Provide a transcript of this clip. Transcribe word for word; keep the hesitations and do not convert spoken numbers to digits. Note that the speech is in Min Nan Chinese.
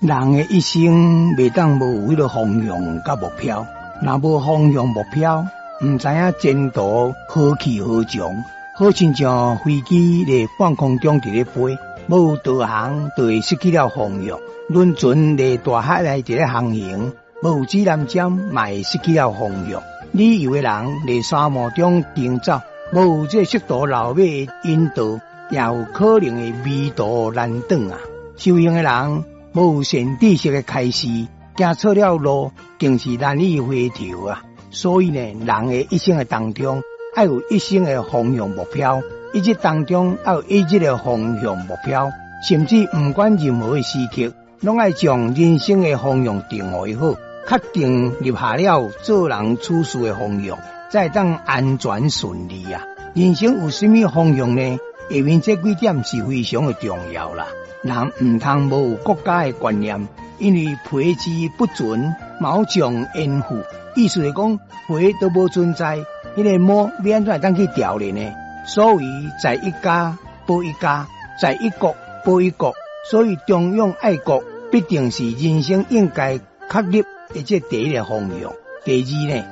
人的一生袂當無有彼个方向佮目標，若無方向目標，毋知影前途何去何從，好親像飛機佇半空中佇咧飛，無導航就會失去了方向；輪船佇大海內佇咧航行，無指南針嘛會失去了方向。旅遊的人佇沙漠中行走，無這識途老馬的引導，也有可能會迷途難轉啊！修行的人，無善知識的開示，行錯了路，更是難以回頭啊！所以呢，人的一生的當中，愛有一生的方向目標，一日當中愛有一日的方向目標，甚至毋管任何的時刻，攏愛將人生的方向定予好，確定立下了做人處事的方向，才會當安全順利啊！人生有啥物方向呢？下面這幾點是非常的重要啦。人毋通無有國家的觀念，因為皮之不存，毛將焉附？意思是講皮都無存在，彼個毛欲按怎會當去調練呢？所以在一家保一家，在一國保一國。所以忠勇愛國必定是人生應該確立的這第一个方向。第二呢？